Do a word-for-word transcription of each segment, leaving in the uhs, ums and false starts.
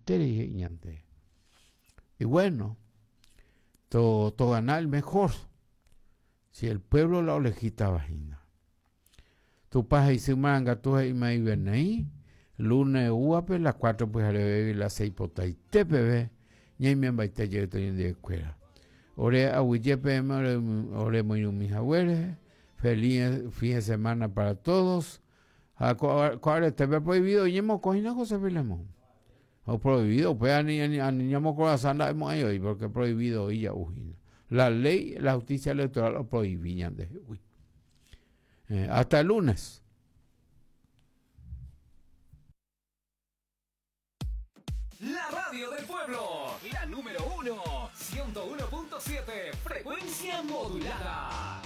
Porãiterei ñande. Y bueno, to, to ganar el mejor. Si el pueblo la olegítava hína. Tupã he'isy marangatu he'imaivenei, lunes uape, las cuatro pyhareve las seis potaite peve, ñaimembaite jey ñandivekuéra. Ore aguyje peẽme ore, ore moirũmi haguére, feliz fin de semana para todos. Ha ko aretépe prohibido ñemokõi José Filemón. O prohibido, pues ani ani ani ñamokorasã nda'emo'ãi oĩ porque prohibido oĩ ja'u hína. La ley, la justicia electoral lo prohibí ñandehegui. Eh, hasta el lunes. La radio del pueblo, la número uno, ciento uno punto siete, frecuencia modulada.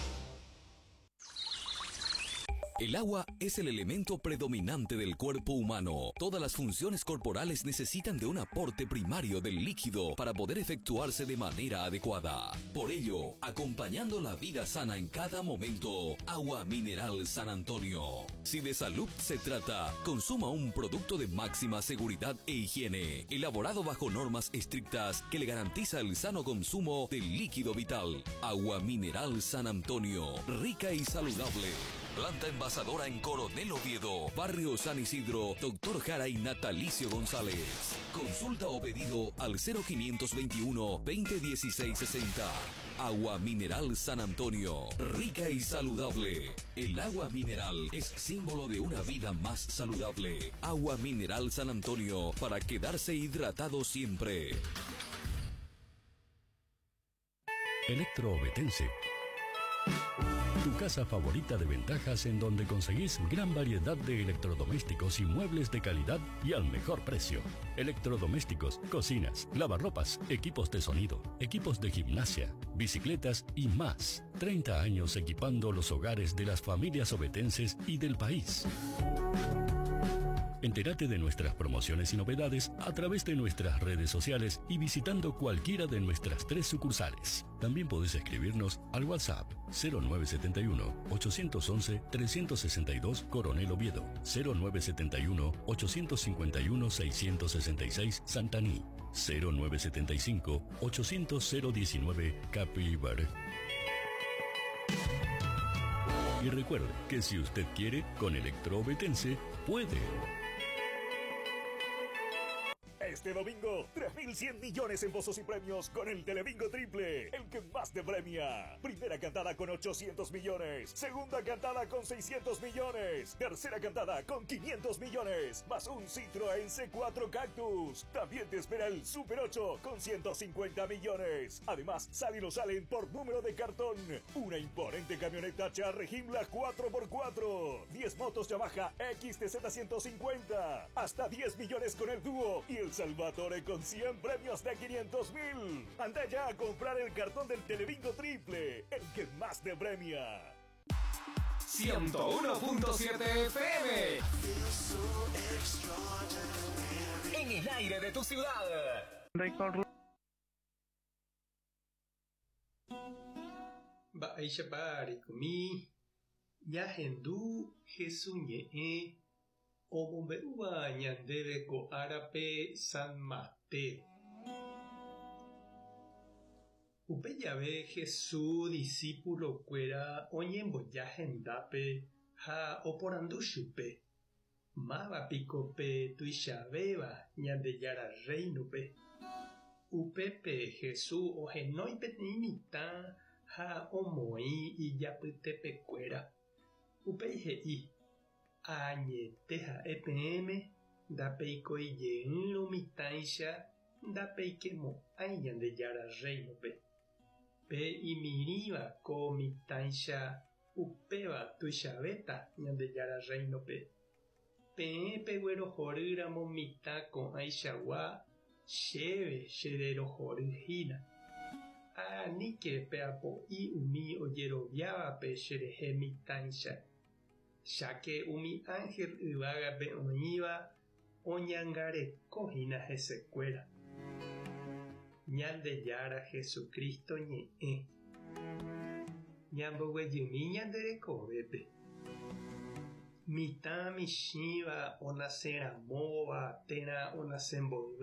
El agua es el elemento predominante del cuerpo humano. Todas las funciones corporales necesitan de un aporte primario del líquido para poder efectuarse de manera adecuada. Por ello, acompañando la vida sana en cada momento, Agua Mineral San Antonio. Si de salud se trata, consuma un producto de máxima seguridad e higiene, elaborado bajo normas estrictas que le garantiza el sano consumo del líquido vital. Agua Mineral San Antonio, rica y saludable. Planta envasadora en Coronel Oviedo, Barrio San Isidro, Doctor Jara y Natalicio González. Consulta o pedido al cero quinientos veintiuno, veinte dieciséis sesenta. Agua Mineral San Antonio, rica y saludable. El agua mineral es símbolo de una vida más saludable. Agua Mineral San Antonio, para quedarse hidratado siempre. Electroobetense. Tu casa favorita de ventajas en donde conseguís gran variedad de electrodomésticos y muebles de calidad y al mejor precio. Electrodomésticos, cocinas, lavarropas, equipos de sonido, equipos de gimnasia, bicicletas y más. treinta años equipando los hogares de las familias obetenses y del país. Entérate de nuestras promociones y novedades a través de nuestras redes sociales y visitando cualquiera de nuestras tres sucursales. También podés escribirnos al WhatsApp cero nueve setenta y uno, ochocientos once, trescientos sesenta y dos Coronel Oviedo, cero nueve setenta y uno, ochocientos cincuenta y uno, seiscientos sesenta y seis Santaní, cero nueve setenta y cinco, ochocientos cero diecinueve Capibar. Y recuerde que si usted quiere, con Electroobetense puede. Este domingo, tres mil cien millones en pozos y premios con el Telebingo Triple, el que más te premia. Primera cantada con ochocientos millones, segunda cantada con seiscientos millones, tercera cantada con quinientos millones, más un Citroën C cuatro Cactus. También te espera el Super ocho con ciento cincuenta millones. Además, salen o salen por número de cartón. Una imponente camioneta Charre Gimla cuatro por cuatro, diez motos Yamaha X T Z ciento cincuenta, hasta diez millones con el dúo y el Salvatore con cien premios de quinientos mil. Anda ya a comprar el cartón del Telebingo Triple, el que más te premia. ciento uno punto siete F M. En el aire de tu ciudad. Mba'éichapa reikomi, ñahendu Jesús ñe'ẽ omombe'úva ñandéve ko árape San Mateo. Upe jave Jesús discípulo-kuéra oñemboja hendápe ha oporandu chupe. Máva piko pe tuichavéva Ñandejára reino-pe. Upépe Jesús ohenói peteĩ mitã ha omoĩ ijapytepekuéra. Upéi he'i: Añete ha'e peẽme ndapeikoijeýrõ mitãicha ndapeikemo'ãi Ñandejára reino-pe. Pe imirĩva ko mitãicha upéva tuichavéta Ñandejára reino-pe. Peẽ peguerohorýramo mitã ko'ãichagua chéve chererohoryhína. Aníke peapo'i umi ojeroviávape cherehe mitãicha. Cháke umi ángel yvágape oĩva oñangarekohína hesekuéra. Ñandejára Jesucristo ñe'ẽ. Ñamboguejymi ñanderekovépe. Mitã michĩva onaseramóva térã onasemboyve.